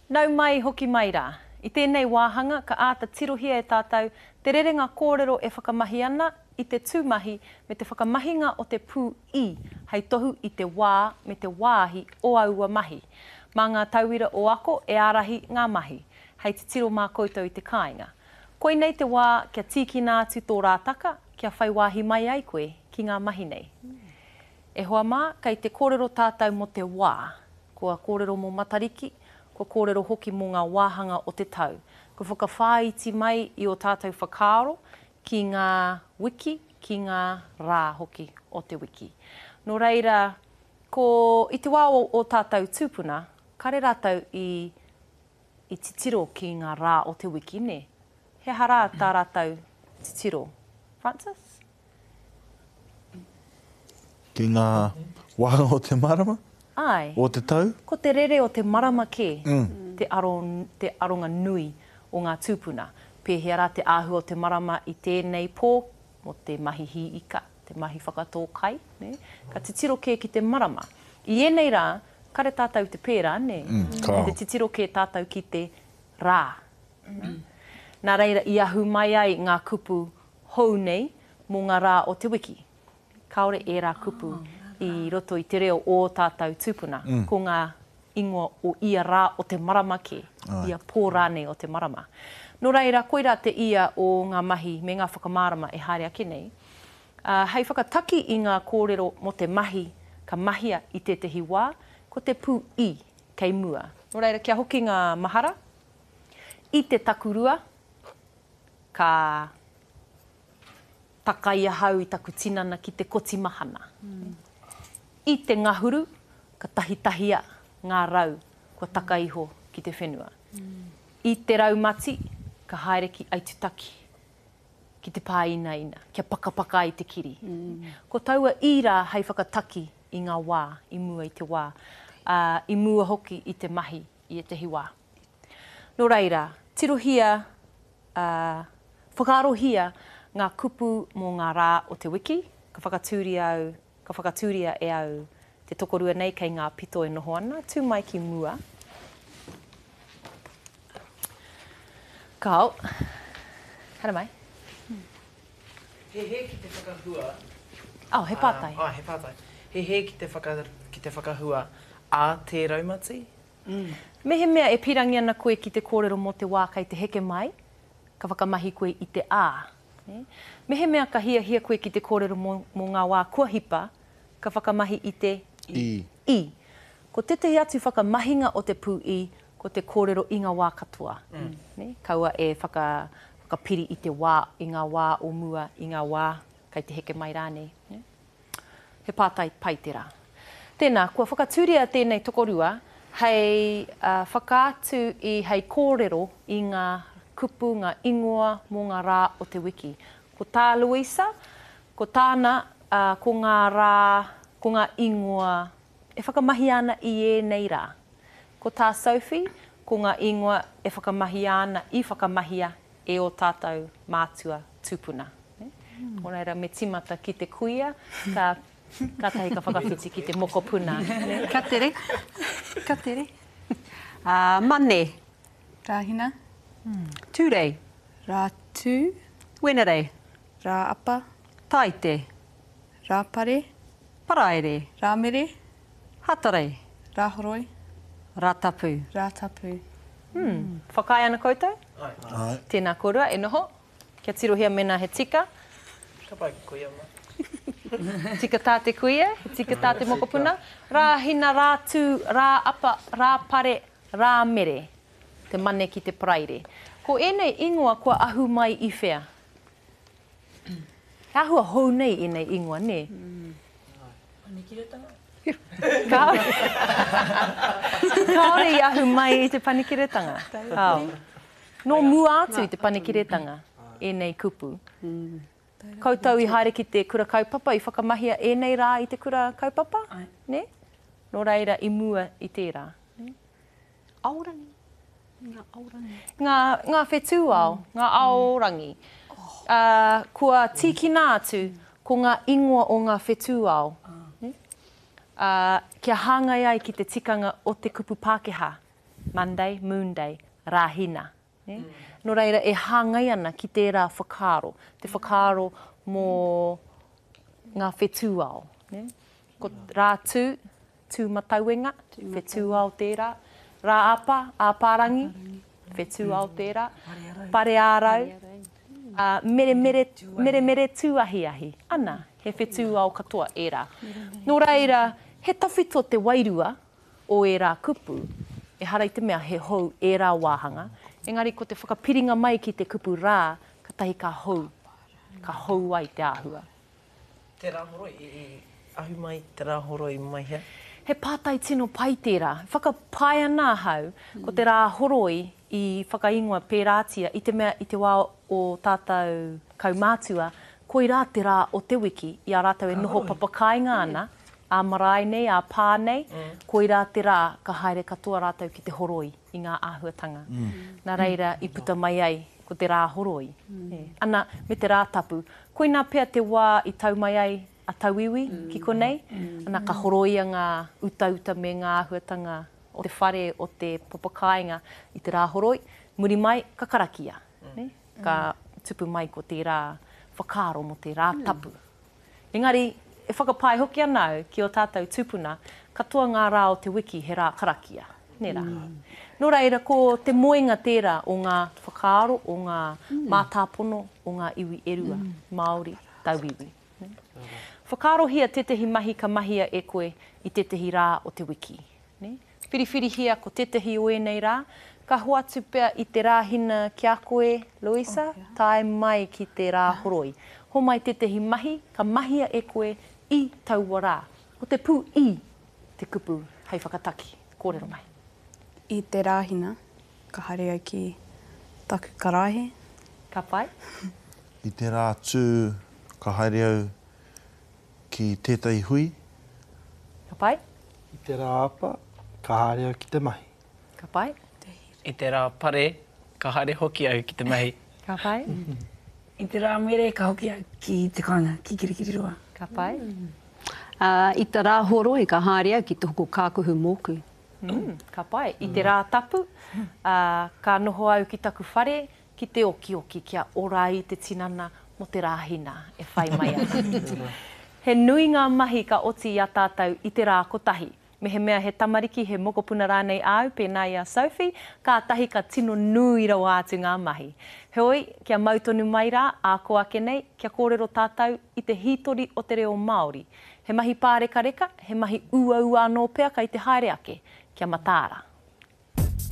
Nau mai, hoki mai rā. I tēnei wāhanga, ka āta tirohia e tātou te rerenga kōrero e whakamahi ana i te tūmahi me te whakamahinga o te pū i hei tohu i te wā me te wāhi o aua mahi. Mā ngā tauira o Ako e ārahi ngā mahi, hei titiro mā koutou i te kāinga. Koinei te wā kia tīkina atu tō rātaka, kia whai wāhi mai ai koe ki ngā mahi nei. E hoa mā, kei te kōrero tātou mō te wā. Kua kōrero mō Matariki, kua kōrero hoki mō ngā wāhanga o te tau. Kua whakawhāiti mai i ō tātou whakaaro ki ngā wiki, ki ngā rā hoki o te wiki. Nō reira, ko, i te wā o ō tātou tūpuna, kare rātou i, i titiro ki ngā rā o te wiki, nē? He aha rā tā rātou titiro? Francis? Ki ngā wāhanga o te marama? Āe. O te tau? Ko te rere o te marama kē te aro, te aronga nui o ngā tūpuna. Pēhea rā te āhua o te marama i tēnei pō mō te mahi hī ika, te mahi whakatō kai, nē? Ka titiro kē ki te marama. I ēnei rā, kare tātou i te pērā, nē? Kāo. Kei te titiro kē tātou ki te rā. Nā reira i ahu mai ai ngā kupu hou nei mō ngā rā o te wiki. Kāore ērā kupu i roto i te reo o ō tātou tūpuna. Ko ngā ingoa o ia rā o te marama kē, ia pō rānei o te marama. Nō reira, koirā te ia o ngā mahi me ngā whakamārama e haere ake nei. Ā, hei whakataki i ngā kōrero mō te mahi ka mahia i tētehi wā, ko te pū i kei mua. Nō reira, kia hoki ngā mahara i te takurua, Ka takai ahau i taku tinana ki te koti mahana. I te ngahuru, ka tahitahia ngā rau kua taka iho ki te whenua. I te raumati, ka haere ki Aitutaki, ki te pāinaina, kia pakapaka ai te kiri. Ko taua i rā hei whakataki i ngā wā i mua i te wā, ā, i mua hoki i te mahi i ētehi wā. Nō reira, tirohia, ā, whakaarohia ngā kupu mō ngā rā o te wiki, ka whakatūria au, ka whakatūria e au te tokorua nei kei ngā pito e noho ana, tū mai ki mua. Kāo. Haere mai. He hē ki te whakahua. Oh, he pātai. Āe, he pātai. He hē ki te whaka, ki te whakahua a te raumati? Mehemea e pīrangi ana koe ki te kōrero mō te wā kei te heke mai, ka whakamahi koe i te ā. Mehemea ka hiahia koe ki te kōrero mō, mō ngā wā kua hipa, ka whakamahi i te I. I. Ko tētahi atu whakamahinga o te pū i, ko te kōrero i ngā wā katoa. Kaua e whaka, whakapiri i te wā, i ngā wā o mua, i ngā wā kei te heke mai rānei. He pātai pai tērā. Tēnā, kua whakatūria tēnei tokorua hei whakaatu i, hei kōrero i ngā kupu, ngā ingoa mō ngā rā o te wiki. Ko tā Louisa, ko tāna, ko ngā rā, ko ngā ingoa e whakamahia ana i ēnei rā. Ko tā Sophie, ko ngā ingoa e whakamahia ana, i whakamahia e ō tātou mātua tūpuna. Nō reira, me tīmata ki te kuia, ka, kātahi ka whakawhiti ki te mokopuna. Ka tere, ka tere. Uh, Mane. Rāhina. Tūrei. Rātū. Wenerei. Rāapa. Tāite. Rāpare. Paraire. Rāmere. Hatarei. Rāhoroi. Rātapu. Rātapu. Hmm. Whakaae ana koutou? Āe. Tēnā kōrua, e noho. Kia tirohia mēnā he tika. Ka pai ki kuia ma. Tika tā te kuia, he tika tā te mokopuna. Rāhina, Rātū, Rāapa, Rāpare, Rāmere. Te mane ki te Paraire. Ko ēnei ingoa kua ahu mai i whea? He āhua hou nei ēnei ingoa, nē? Panekiretanga? Kāore. Kāore i ahu mai i te panekiretanga. Kāo. Nō mua atu i te panekiretanga ēnei kupu. Koutou i haere ki te kura kaupapa, i whakamahia ēnei rā i te kura kaupapa? Nē? Nō reira, i mua i tērā. Aorangi. Ngā aorangi. Ngā, ngā whetū ao, ngā aorangi. Ā, kua tīkina atu ko ngā ingoa o ngā whetū ao. Ā, kia hāngai ai ki te tikanga o te kupu Pākehā. Monday, Moonday, Rāhina. Nē? Nō reira, e hāngai ana ki tērā whakaaro, te whakaaro mō ngā whetū ao. Nē? Ko Rātū, Tūmatauenga, whetū ao tērā. Rāapa, Āpārangi, whetū ao tērā. Pareārau, ā, meremere, meremere tūahiahi. Ana, he whetū ao katoa ērā. Nō reira, he tawhito te wairua o ērā kupu, ehara i te mea he hou ērā wāhanga, engari ko te whakapiringa mai ki te kupu rā, katahi ka hou, ka hou ai te āhua. Te Rāhoroi, i ahu mai te Rāhoroi mai hea? He pātai tino pai tērā. Whakapae ana ahau ko te Rāhoroi i whakaingoa pērātia i te mea i te wā o tātou kaumātua, koirā te rā o te wiki i a rātou e noho papakāinga ana, ā-marae nei, ā-pā nei, koirā te rā ka haere katoa rātou ki te horoi i ngā āhuatanga. Nā reira i puta mai ai ko te rā horoi. Ana, me te rā tapu. Koinā pea te wā i tau mai ai a tauiwi ki konei, ana ka horoia ngā utauta me ngā āhuatanga o te whare, o te papakāinga i te rā horoi, muri mai ka karakia, ka tupu mai ko tērā whakaaro mō te rā tapu. Engari, e whakapae hoki ana au ki ō tātou tūpuna, katoa ngā rā o te wiki he rā karakia, nē rā? Nō reira, ko te moenga tērā o ngā whakaaro, o ngā mātāpono o ngā iwi e rua, Māori, tauiwi. Whakaarohia tētehi mahi ka mahia e koe i tētehi rā o te wiki. Nē? Whiriwhirihia ko tētahi o ēnei rā, ka hoatu pea i te Rāhina ki a koe, Louisa, tae mai ki te Rāhoroi. Homai tētahi mahi ka mahia e koe i taua rā. Ko te pū i te kupu hei whakataki. Kōrero mai. I te Rāhina, ka haere au ki taku karaehe. Ka pai. I te Rātū, ka haere au ki tētahi hui. Ka pai. I te rā apa, ka haere au ki te mahi. Ka pai. I te rā pare, ka haere hoki au ki te mahi. Ka pai. I te rā mere, ka hoki au ki te kāinga, ki Kirikiriroa. Ka pai. I te rā horoi, ka haere au ki te hoko kākuhu mōku. Ka pai. I te rā tapu, ka noho au ki taku whare, ki te okioki kia ora ai te tinana mō te Rāhina e whai mai ana. He nui ngā mahi ka oti i a tātou i te rā kotahi. Mehemea he tamariki, he mokopuna rānei āu, pēnā i a Sophie, kātahi ka tino nui rawa atu ngā mahi. Heoi, kia mau tonu mai rā, ā kō ake nei, kia kōrero tātou i te hītori o te reo Māori. He mahi pārekareka, he mahi uaua anō pea kei te haere ake. Kia mataara.